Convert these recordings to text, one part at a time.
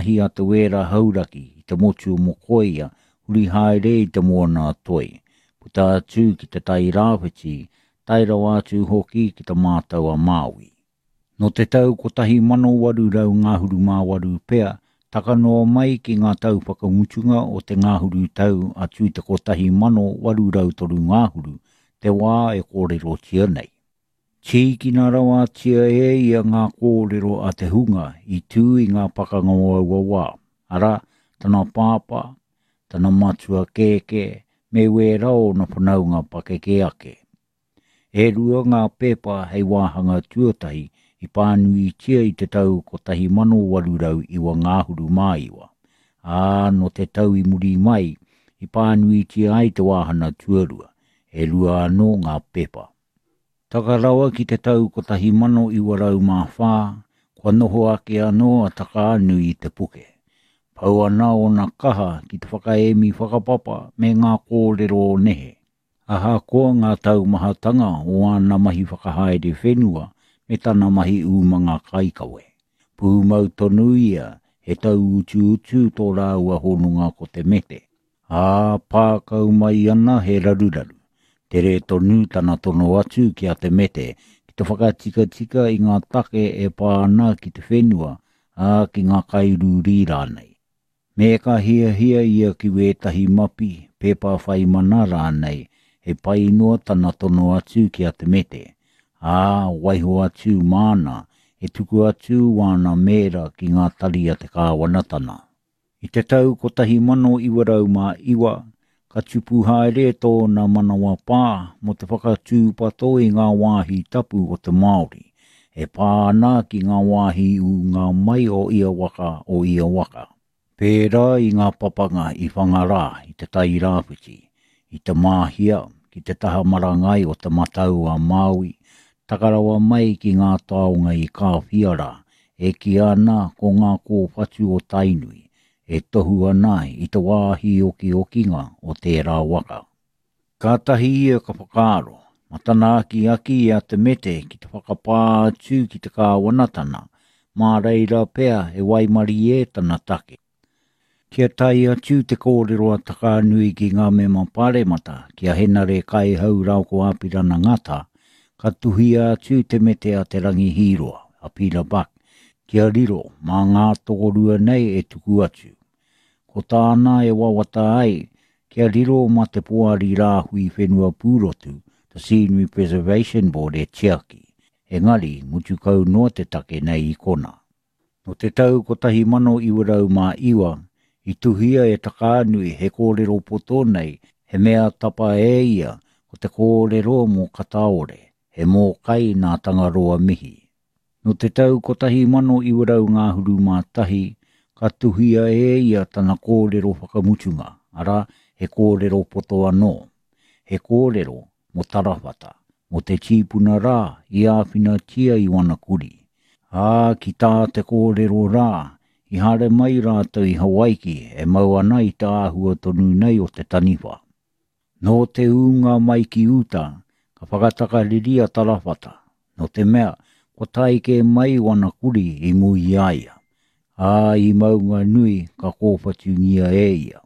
Mahi a Te Wēra Hauraki i te motu o Mokoia huri haere i te Moana a Toi, puta atu ki Te Tai Rāwhiti, tae rawa atu hoki ki Te Mātau a Māui. Nō te tau 1838 pea, taka noa mai ki ngā tau whakamutunga o te ngahuru tau atu i te 1803 ngahuru, te wā e kōrerotia nei. Tīkina rawatia e ia ngā kōrero a te hunga i tū i ngā pakanga o aua wā, arā, tana pāpā, tana matua kēkē, me wērā o ōna whanaunga pakeke ake. E rua ngā pepa hei wāhanga tuatahi i pānuitia i te tau 1809 ngahuru mā iwa, ā, nō te tau i muri mai i pānuitia ai te wāhana tuarua, e rua anō ngā pepa. Taka rawa ki te tau 1904, kua noho ake anō a Takaanui i te puke. Pau ana ōna kaha ki te whakaemi whakapapa me ngā kōrero o nehe. Ahakoa ngā taumahatanga o āna mahi whakahaere whenua me tana mahi umanga kaikawe, pūmau tonu ia he tauutuutu tō rāua hononga ko Te Mete. Ā, pā kau mai ana he raruraru. Tere tonu tana tono atu ki a Te Mete ki te whakatikatika i ngā take e pā ana ki te whenua, ā, ki ngā kairūrī rānei. Me ka hiahia ia ki wētahi mapi, pepa whai mana rānei, he pai noa tana tono atu ki a Te Mete, ā, waiho atu māna e tuku atu wāna mēra ki ngā tari a te kāwanatana. I te tau 1909, ka tupu haere tōna manawapā mō te whakatūpato i ngā wāhi tapu o te Māori, e pā ana ki ngā wāhi ūnga mai o ia waka, o ia waka. Pērā i ngā papanga i Whangarā i Te Tai Rāwhiti, i Te Māhia ki te taha marangai o Te Matau a Māui, taka rawa mai ki ngā taonga i Kāwhia rā, e kīia ana ko ngā kōwhatu o Tainui, e tohu ana i te wāhi okiokinga o tērā waka. Kātahi ia ka whakaaro, ma tana akiaki i a Te Mete ki te whakapā atu ki te kāwanatana, mā reira pea e waimarie tana take. Kia tae atu te kōrero a Takaanui ki ngā mema pāremata, ki a Henare Kaihau rāua ko Apirana Ngata, ka tuhia atu te mete a Te Rangi Hīroa, a Peter Buck, kia riro mā ngā tokorua nei e tuku atu. Ko tāna e wawata ai, kia riro mā te Poari Rāhui Whenua Pūrotu, The Scenery Preservation Board e tiaki, engari mutu kau noa te take nei i kona. Nō te tau 1909, i tuhia e Takaanui he kōrero poto nei, he mea tapa e ia ko te kōrero mō Kataore, he mōkai nā Tangaroa Mihi. Nō te tau 1921, ka tuhia e ia tana kōrero whakamutunga, arā, he kōrero poto anō. He kōrero mō Tarawhata, mō te tīpuna rā i āwhinatia i wana kurī. Ā, ki tā te kōrero rā, i haere mai rātou i Hawaiki e mau ana i te āhua tonu nei o te taniwha. Nō te ūnga mai ki uta, ka whakatakariri a Tarawhata, nō te mea, kua tae kē mai wana kurī i mua i a ia, ā, i Maunganui ka kōwhatungia e ia.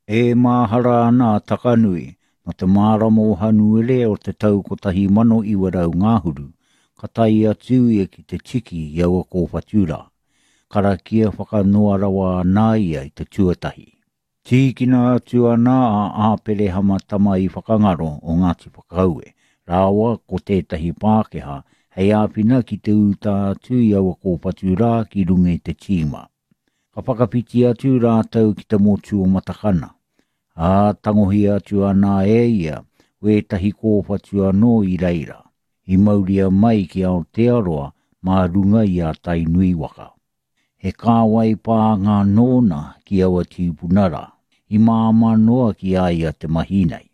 E māhara ana a Takanui, nō te marama o Hanuere o te tau 1900 ngahuru, ka tae atu ia ki te tiki i aua kōwhatu rā. Karakia whakanoa rawa ana ia i te tuatahi. Tīkina atu ana a Āperehama Tama-i-whakangaro o Ngāti Whakaue rāua ko tētahi Pākehā hei āwhina ki te uta atu i aua kōwhatu rā ki runga i te tīma. Ka whakawhiti atu rātou ki te motu o Matakana, ā, tangohia atu ana e ia wētahi kōwhatu anō i reira, i mauria mai ki Aotearoa mā runga i a Tainui waka. He kāwai pānga nōna ki aua tīpuna rā, i māmā noa ki a ia te mahi nei.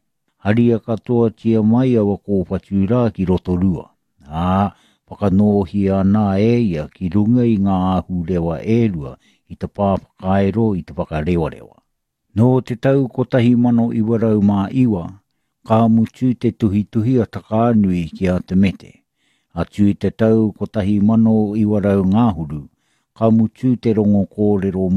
Haria katoatia mai aua kōwhatu rā ki Rotorua, ā, whakanōhia ana e ia ki runga i ngā ahurewa e rua i te pā whakairo i Te Whakarewarewa. Nō te tau 1909, ka mutu te tuhituhi a Takaanui ki a Te Mete. Atu i te tau 1900 ngahuru, Ka mutu te rongo kōrero.